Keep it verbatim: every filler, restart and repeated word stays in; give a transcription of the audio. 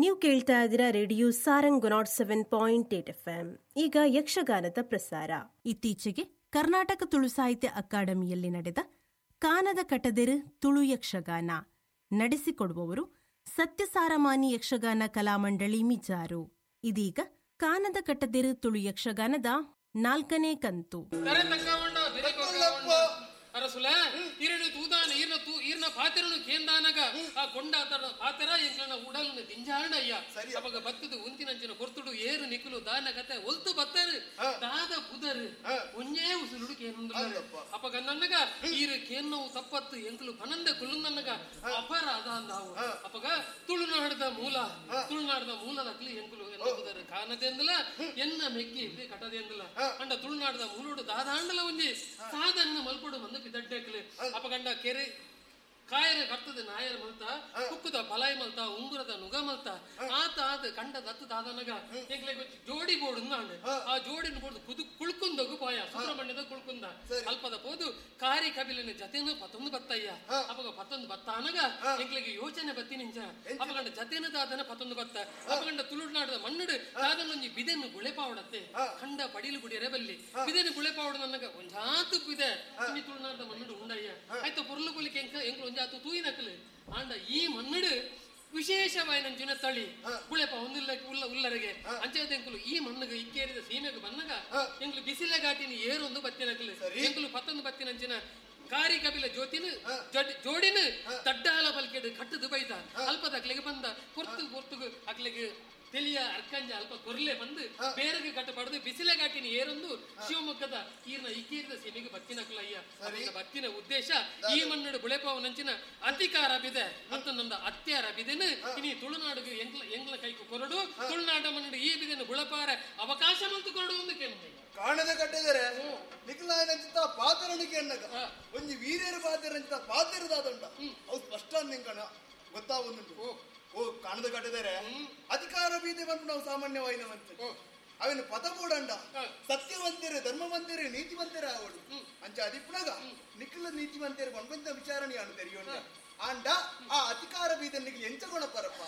ನೀವು ಕೇಳ್ತಾ ಇದ್ದೀರಾ radio Sarang nought seven point eight F M. ಈಗ ಯಕ್ಷಗಾನದ ಪ್ರಸಾರ. ಇತ್ತೀಚೆಗೆ ಕರ್ನಾಟಕ ತುಳು ಸಾಹಿತ್ಯ ಅಕಾಡೆಮಿಯಲ್ಲಿ ನಡೆದ ಕಾನದ ಕಟದೆರು ತುಳು ಯಕ್ಷಗಾನ ನಡೆಸಿಕೊಡುವವರು ಸತ್ಯಸಾರಮಾನಿ ಯಕ್ಷಗಾನ ಕಲಾಮಂಡಳಿ ಮಿಜಾರು. ಇದೀಗ ಕಾನದ ಕಟದೆರು ತುಳು ಯಕ್ಷಗಾನದ ನಾಲ್ಕನೇ ಕಂತು. ಅರಸುಲ ಇರಡು ತೂದಾನ ಈರ್ನ ತೂ ಈರ್ನ ಪಾತೆರನು ಕೇಂದಾನಗ ಆ ಕೊಂಡಾತರ ಪಾತೆರ ಎಂಕ್ಲನ ಉಡಲ್ನ ದಿಂಜಾರಣ ಅಯ್ಯ ಅವಾಗ ಬತ್ತದು ಉಂತಿನಂಚಿನ ಕೊರ್ತುಡು ಏರು ನಿಕ್ಕಲು ದಾನ ಕತೆ ಒಲ್ತು ಬತ್ತರು ದಾದ ಪುದರು ಒಂಜೇ ಉಸುರುಡು ಕೇಂದ್ರ ಅಪಗ ನನ್ನಗ ಈರು ಕೇನ್ನವು ತಪ್ಪತ್ತು ಎಂಕಲು ಪನಂದ ಕುಲ್ಲುಂದನ್ನಗ ಅಪರ ಅದಾಂದಾವು ಅಪಗ ತುಳುನಾಡದ ಮೂಲ ತುಳುನಾಡದ ಮೂಲದಕ್ಲಿ ಎಂಕಲು ಎನ್ನ ಪುದರು ಕಾನದೆಂದಲ ಎನ್ನ ಮೆಗ್ಗಿ ಕಟದೆಂದಲ ಅಂಡ ತುಳುನಾಡದ ಮೂಲೋಡು ದಾದಾಂಡಲ ಒಂಜಿ ಸಾದನ್ನ ಮಲ್ಪಡು ಬಂದು ದಡ್ಡಕ್ಲು ಅಪಗಂಡ ಕೆರೆ ಕಾಯರ ಕರ್ತದ ನಾಯರ ಮಲ್ತ ಕುಕ್ಕುದ ಬಲಾಯಿ ಮಲ್ತ ಉಂಗುರದ ನುಗ ಮಲ್ತ ಆತ ಆತ ಕಂಡ ದತ್ತು ದಾದನಗ ಎಂಕ್ಲೆ ಜೋಡಿ ಬೋರ್ಡ್ ನಾಂಡ್ ಆ ಜೋಡಿನ ಬೋರ್ಡ್ ಕುದು ಕುಳ್ಕುಂದಗು ಪಾಯ ಸುಬ್ರಹ್ಮಣ್ಯದ ಕುಳ್ಕುಂದ ಅಲ್ಪದ ಪೋದು ಕಾರಿ ಕಬಿಲಿನ ಜತೆನು ಪತ್ತೊಂದು ಬತ್ತಯ್ಯ ಅಪಗ ಪತ್ತೊಂದು ಬತ್ತ ಅನಗ ಎಂಕ್ಲೆಗೆ ಯೋಚನೆ ಬತ್ತಿ ನಿಂಚ ಅಪಗಂಡ ಜತೆನ ದಾದನ ಪತ್ತೊಂದು ಬತ್ತ ಅಪಗಂಡ ತುಳುನಾಡದ ಮಣ್ಣುಡು ದಾದನೊಂಜಿ ಬಿದೆನ್ನು ಗುಳೆಪಾವಡತ್ತೆ ಕಂಡ ಪಡಿಲು ಗುಡಿಯರೆ ಬಲ್ಲಿ ಬಿದೆನು ಗುಳೆಪಾವಡ ನನ್ನಗ ಒಂಜಾತು ಬಿದೆ ಇನಿ ತುಳುನಾಡದ ಮಣ್ಣುಡು ಉಂಡಯ್ಯ ಆಯ್ತು ಪೊರ್ಲು ಕೊಲಿಕೆ ಎಂಕ ಎಂಕ್ಲು ಒಂಜಾತು ತೂಯಿನಕಲು ಆಂಡ ಈ ಮಣ್ಣುಡು ವಿಶೇಷವಾಯಿನಂಚಿನ ತಳಿ ಗುಳೆಪ ಒಂದಿಲ್ಲ ಉಲ್ಲ ಉಲ್ಲರಿಗೆ ಅಂಚೆಂಕುಲು ಈ ಮಣ್ಣುಗೆ ಇಕ್ಕೇರಿದ ಸೀಮೆಗೆ ಬನ್ನಗ ಎಂಕ್ಲು ಬಿಸಿಲ ಘಾಟಿನ ಏರೊಂದು ಬತ್ತಿನಕಲು ಎಂಕುಲು ಪತ್ತೊಂದು ಬತ್ತಿನಂಚಿನ ಕಾರಿ ಕಪಿಲ ಜ್ಯೋತಿನ ಜೋಡಿನ ತಡ್ಡಾಲ ಬಲ್ಕೆಡು ಕಟ್ಟದು ಬೈದ ಅಲ್ಪದ ಅಕ್ಲೆಗೆ ಬಂದ ಪೊರ್ತು ಪೊರ್ತುಗು ಅಕ್ಲೆಗೆ ತಿಳಿಯ ಅರ್ಕಂಜ ಅಲ್ಪ ಕೊರ್ಲೆ ಬಂದು ಬೇರೆಗೆ ಕಟ್ಟಬಾರದು ಬಿಸಿಲ ಘಾಟಿನ ಏರೊಂದು ಶಿವಮೊಗ್ಗದ ಈರ್ನ ಇಕ್ಕೇರಿದ ಸೀಮೆಗೆ ಬತ್ತಿನಕಲಯ್ಯ ಬತ್ತಿನ ಉದ್ದೇಶ ಈ ಮಣ್ಣು ಬುಳೆಪಾವನಂಚಿನ ಅಧಿಕಾರ ಬಿದೆ ಮತ್ತು ನಮ್ದು ಅತ್ಯಾರ ಬಿದೆನು ಇನಿ ತುಳುನಾಡಿಗೆ ಎಂಗ್ಲ ಎಂಗ್ಲ ಕೈಕು ಕೊರಡು ತುಳುನಾಡ ಮಣ್ಣು ಈ ಬಿದೆನು ಬುಳಪಾರ ಅವಕಾಶ ಮಂತು ಕೊರಡು ಒಂದು ಕೇಳಿ ಕಾಣದ ಕಟ್ಟಿದರೆ ನಿಖಲಾಯನಂಚಿತ ಪಾತ್ರನಿಗೆ ಎನ್ನಗ ಒಂಜಿ ವೀರ್ಯರ ಪಾತ್ರರಂಚಿತ ಪಾತ್ರದಾದಂಡ ಅವು ಸ್ಪಷ್ಟ ನಿಂಕಣ ಗೊತ್ತಾವುಂಟು. ಓ ಕಾಣದ ಕಟ್ಟಿದರೆ ಅಧಿಕಾರ ಬೀದಿ ಬಂದು ನಾವು ಸಾಮಾನ್ಯವಾಯಿನವಂತ ಅವನ ಪದ ಕೂಡಂಡ ಸತ್ಯವಂತರು ಧರ್ಮವಂತರು ನೀತಿವಂತರು ಆವಡು ಅಂಚ ಅದಿಪ್ಪುನಗ ನಿಖಲ ನೀತಿವಂತರು ಬಂದ ವಿಚಾರಣೆ ಅನು ತೆರೆಯೋಣ ಆಂಡ ಆ ಅಧಿಕಾರ ಬೀದ ನಿಖಲ್ ಎಂಚ ಕೊಣಪರಪ್ಪ.